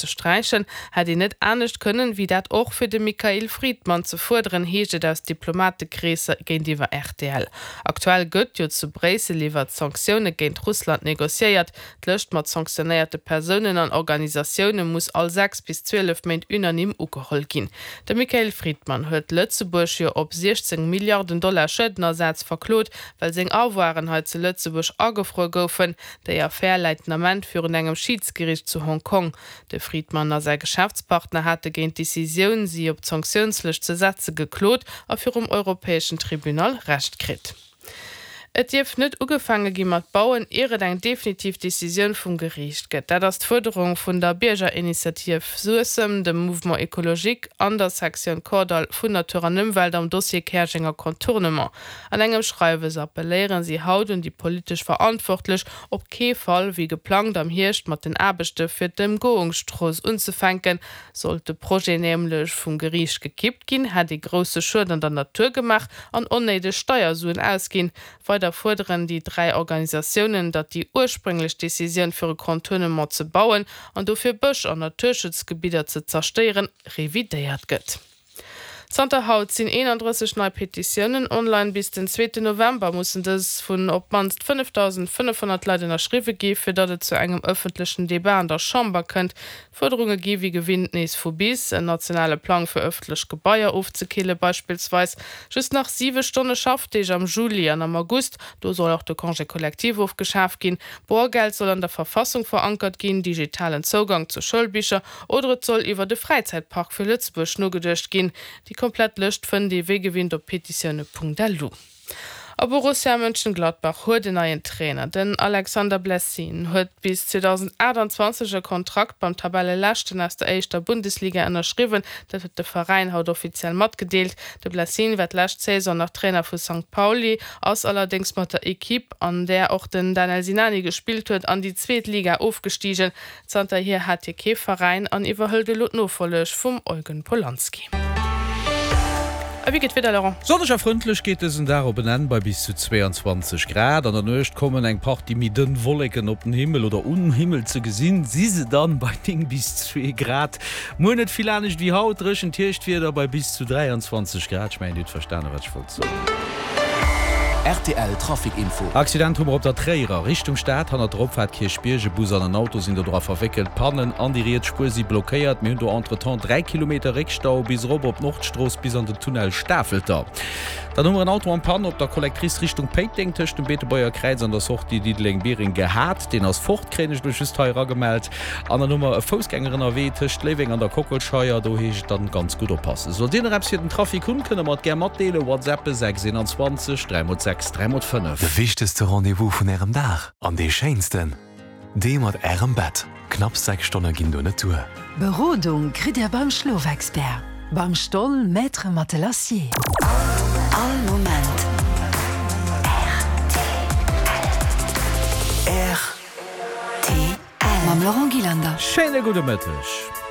ze sträichen, hätt een net anescht kënnen, wéi dat och fir de Mikhail Fridman ze fuerderen, heescht et aus Diplomatekreesser géintiwwer rtl. Aktuell gëtt jo zu Bréissel iwwert Sanktioune géint Russland negociéiert. D'Lëscht mat sanktionéierte Persounen an Organisatioune muss all 6 bis 12 Méint unanime ugeholl ginn. De Mikhail Fridman huet Lëtzebuerg jo op 16 Milliarden Dollar Schuedenersaz verklot, well seng Avoiren hei zu Lëtzebuerg agefruer goufen. Déi Affär läit den Ament virun engem Schiidsgeriicht zu Hong Kong. De Fridman a säi Geschäftspartner hate géint d'Decisioun, si op d'Sanktiounslëscht ze setze geklot a virum europäeschen Tribunal Recht kritt. Et dierf net ugefaange gi mat bauen, ier et eng definitiv Decisioun vum Geriicht gëtt. Dat ass d'Fuerderung vun der Biergerinitiativ Suessem, dem Mouvement Ecologique an der Sektioun Kordall vun Natur an Ëmwelt am Dossier Käerjenger Contournement. An engem Schreiwes appelléiere si haut un déi politesch Verantwortlech, op kee Fall wéi geplangt am Hierscht mat den Aarbechte fir d'Ëmgoungsstrooss unzefänken. Sollt de Projet nämlech vum Geriicht gekippt ginn, hätt ee grousse Schued an der Natur gemaach an onnéideg Steiersuen ausginn. Weider fuerderen déi 3 Organisatiounen, datt déi ursprénglech Decisioun fir e Contournement ze bauen an dofir Bësch an Naturschutzgebidder ze zerstéieren, revidéiert gëtt. Zanter haut sinn 31 nei Petitiounen online. Bis den zweeten November mussen dës vun op d'mannst 5.500 Leit ënnerschriwwe gi fir datt et zu engem ëffentlechen Debat an der Chamber kënnt. D'Fuerderunge gi wéi gewinnt nees vu bis, en nationale Plang fir ëffentlech Gebaier ofzekille beispillsweis, just nach 7 Stonne Schaffdeeg am Juli an am August, do soll och de Congé collectif ofgeschaf ginn, Boergeld soll an der Verfassung verankert ginn, digitalen Zougang zu Schoulbicher Oder et soll iwwert e Fräizäitpark fir Lëtzebuerg nogeduecht ginn. Déi komplett Lëscht fënnt ee wéi gewinnt op petitioune.lu. A Borussia Mönchengladbach huet en neien Trainer. Den Alexander Blessin huet bis 2028 e Kontrakt beim Tabelleleschten aus der éischter Bundesliga ënnerschriwwen. Dat huet de Veräin haut offiziell matgedeelt. De Blessin war d'lescht Saison nach Trainer vu Sankt Pauli, ass allerdéngs mat der Ekipp, an där och den Danel Sinani gespillt huet, an déi zweet Liga ofgestigen. Zanterhier hat hie kee Veräin an iwwerhëlt elo d'Nofolleg vum Eugen Polanski. A wéi geet d'Wieder, Laurent? Sonneg a frëndlech geet dësen Dag op en Enn bei bis zu 22 Grad. An der Nuecht kommen eng Partie méi dënn Wolleken op den Himmel oder um Himmel ze gesinn si se dann bei 9 bis 2 Grad. Muer net vill anescht wéi haut, dréchent Hierschtwieder bei bis zu 23 Grad. Ech mengen dir hutt verstanen wat ech wollt soen. Rtl Trafic Info. Accident hu mer op der Tréierer Richtung Stad, hannert der Opfaart Kierchbierg. E Bus an en Auto sinn do dra verwéckelt. D'Pannen an déi riets Spuer si blockéiert. Mir hunn do entretemps 3 Kilometer Réckstau bis erop op d'Nordstrooss bis an den Tunnel Stafelter. Dann hu mer en Auto en Panne op der Collectrice Richtung Péiteng tëscht dem Beetebuerger Kräiz an der Sortie Diddeleng-Biereng gehat. Deen ass fort, kréien ech elo just hei eragemellt. An dann hu mer e Foussgänger ënnerwee tëscht Léiweng an der Kockelscheier. Do heescht et dann ganz gutt oppassen. Sollt Dir nach eppes fir den Trafic hunn, kënne mer et gär matdeelen. WhatsAppen 6 21 3 mol 6 3 mol 5. De wichtegste Rendez-vous vun Ärem Dag an dee schéinsten, dee mat Ärem Bett. Knapps 6 Stonne ginn do net duer. Berodung kritt Dir beim Schlofexpert, beim Stoll Maître Matelassier. All Moment rtl. Mam Laurent Gillander. Schéine gudde Mëtteg.